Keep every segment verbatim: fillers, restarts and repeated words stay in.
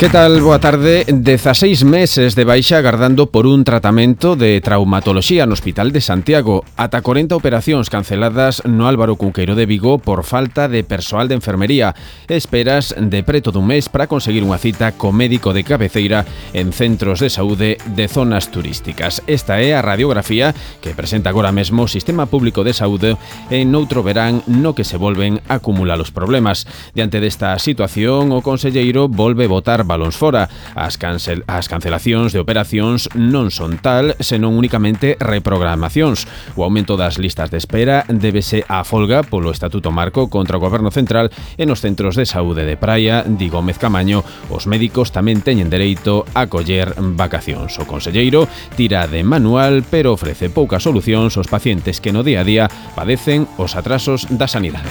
Que tal? Boa tarde. dezaseis meses de baixa agardando por un tratamento de traumatoloxía no Hospital de Santiago. Ata corenta operacións canceladas no Álvaro Cunqueiro de Vigo por falta de persoal de enfermería. Esperas de preto dun mes para conseguir unha cita co médico de cabeceira en centros de saúde de zonas turísticas. Esta é a radiografía que presenta agora mesmo o Sistema Público de Saúde en outro verán no que se volven a acumular os problemas. Diante desta situación, o conselleiro volve votar balóns fora. As, cancel, as cancelacións de operacións non son tal, senón únicamente reprogramacións. O aumento das listas de espera débese á folga polo Estatuto Marco contra o Goberno Central e nos centros de saúde de Praia, di Gómez Camaño, os médicos tamén teñen dereito a coller vacacións. O conselleiro tira de manual, pero ofrece poucas solucións aos pacientes que no día a día padecen os atrasos da sanidade.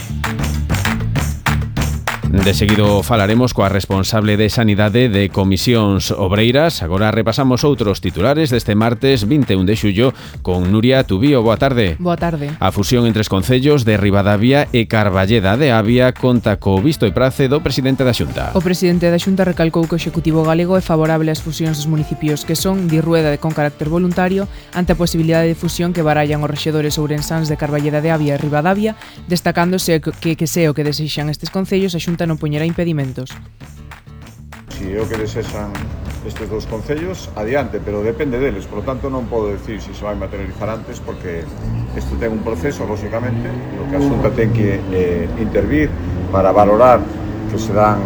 De seguido falaremos coa responsable de Sanidade de Comisións Obreiras. Agora repasamos outros titulares deste martes vinte e un de xullo con Nuria Tubío. Boa tarde. Boa tarde. A fusión entre os concellos de Ribadavia e Carballeda de Avia conta co visto e prace do presidente da Xunta. O presidente da Xunta recalcou que o Executivo galego é favorable ás fusións dos municipios que son de Rueda con carácter voluntario ante a posibilidade de fusión que barallan os rexedores ourensáns de Carballeda de Avia e Ribadavia, destacándose que que se o que desexan estes concellos, a Xunta non poñerá impedimentos. Si é o que desexan estes dous concellos, adiante, pero depende deles, por lo tanto non podo decir se se vai materializar antes porque isto ten un proceso, lógicamente, no que a Xunta ten que eh, intervir para valorar que se dan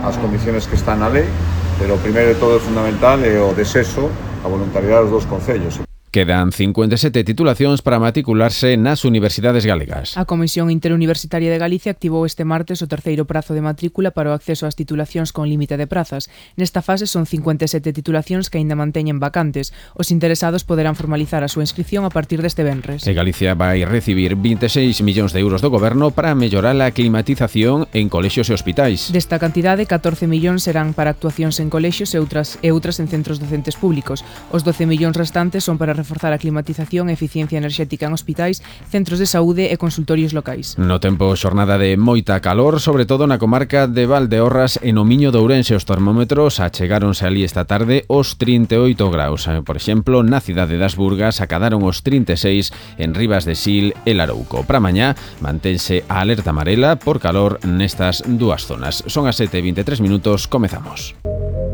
as condiciones que están na lei, pero o primeiro de todo é fundamental é o desexo, a voluntariedade dos dous concellos. Quedan cincuenta e sete titulacións para matricularse nas universidades galegas. A Comisión Interuniversitaria de Galicia activou este martes o terceiro prazo de matrícula para o acceso ás titulacións con límite de prazas. Nesta fase son cincuenta e sete titulacións que aínda manteñen vacantes. Os interesados poderán formalizar a súa inscripción a partir deste venres. E Galicia vai recibir vinte e seis millóns de euros do Goberno para mellorar a climatización en colexios e hospitais. Desta cantidade, catorce millóns serán para actuacións en colexios e outras, e outras en centros docentes públicos. Os doce millóns restantes son para reforzar a climatización e eficiencia enerxética en hospitais, centros de saúde e consultorios locais. No tempo, xornada de moita calor, sobre todo na comarca de Valdeorras e no Miño de Ourense. Os termómetros achegáronse ali esta tarde os trinta e oito graus. Por exemplo, na cidade das Burgas acadaron os trinta e seis en Ribas de Sil e Larouco. Para mañá mantense a alerta amarela por calor nestas dúas zonas. Son as sete e vinte e tres minutos, comezamos.